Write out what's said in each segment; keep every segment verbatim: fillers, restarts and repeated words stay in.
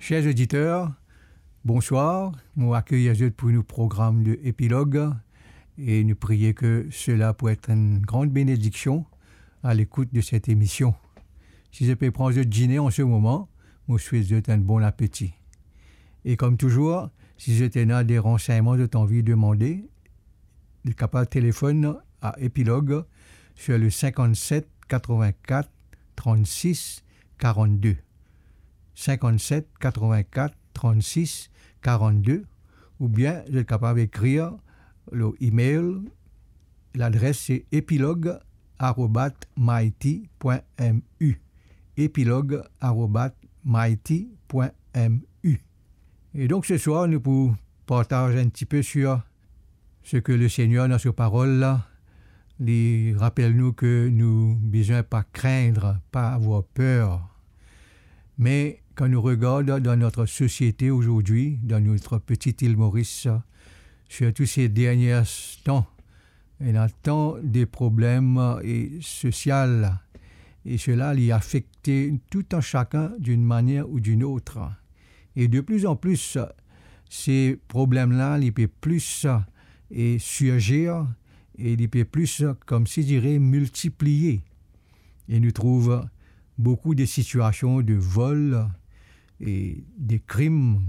Chers auditeurs, bonsoir. Mo akeyir zot pou nou program de Epilog e nou priye ke sela pou et enn gran benediksion a lekout de set emision. Si zot pe pran zot dine an se moman, mo swet zot enn bon apeti. E kom touzour, si zot ena de ransegnman zot anvi demande, zot kapav telefonn a Epilog sur le cinquante-sept quatre-vingt-quatre trente-six quarante-deux. Cinquante-sept quatre-vingt-quatre trente-six quarante-deux, oubien zot kapav ekrir lor email. Ladres se epilog arobas mighty point M U. Epilog arobas mighty point M U. E donk, se swar, nou pou partaz enn tipe sur seki Lesegner, dan so parol la, li rapel nou ke nou bizin pa krenn, pa avoir per. Me kan nou regard dan notre société aujourd'hui, dans notre petite île Maurice, surtout ces derniers temps, ena tan de problem, e, sosial, e sela li afekte tout un chacun d'une manière ou d'une autre. E de plus en plus, se problem la, li pe plis, e, sirzir, e li pe plis, comme si dire, miltipliye. E nou trouv boukou de sitiasion de vol, e de krim,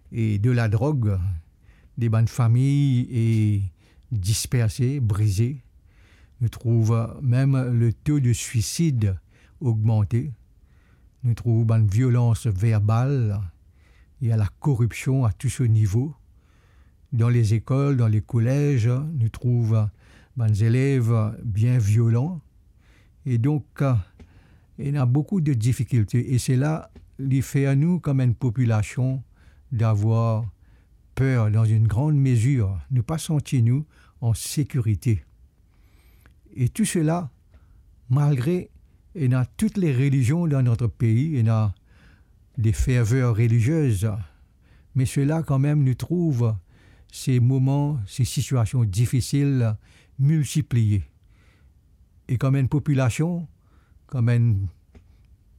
e de ladrog, de bann fami, e, disperse, brize. Nou trouv mem le to de swisid ogmante. Nou trouv bann violans verbal, ena lakoripsion a tou so nivo. Dan lezekol, dan lekolez, nou trouv bann zelev bien violan. E donk, ena boukou de difikilte. E sela, li fer nou, kom enn popilasion, d'avoir per dan enn gran mezir. Nou pa santi nou an sekirite. E tou sela, malgre ena tout le relizion dan notre pei, ena de ferver reliziez, me sela kanmem nou trouv se moman, se sitiasion difisil miltipliye. E kom enn popilasion, kom enn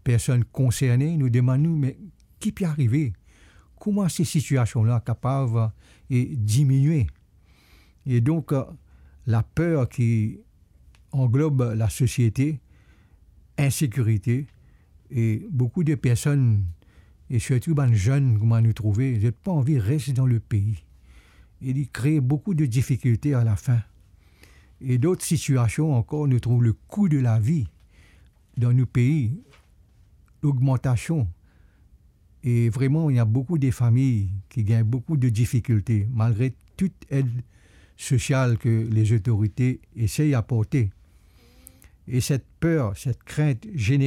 personn konserne, nou demann nou, me ki pe arive? Kouma se sitiasion la kapav, e, diminie? E donk, laper ki anglob lasosiete, insekirite, e boukou de personn, e sirtou bann zenn, kouma nou trouve, zot pa anvi res dan lepei. E li kree boukou de difikilte alafin. E dot sitiasion ankor, nou trouv lekou de lavi dan nou pei, logmantasion. E vreman, ena boukou de fami ki gagn boukou de difikilte, malgre tou ed sosial ke lezotorite esey aporte. E set per, set krint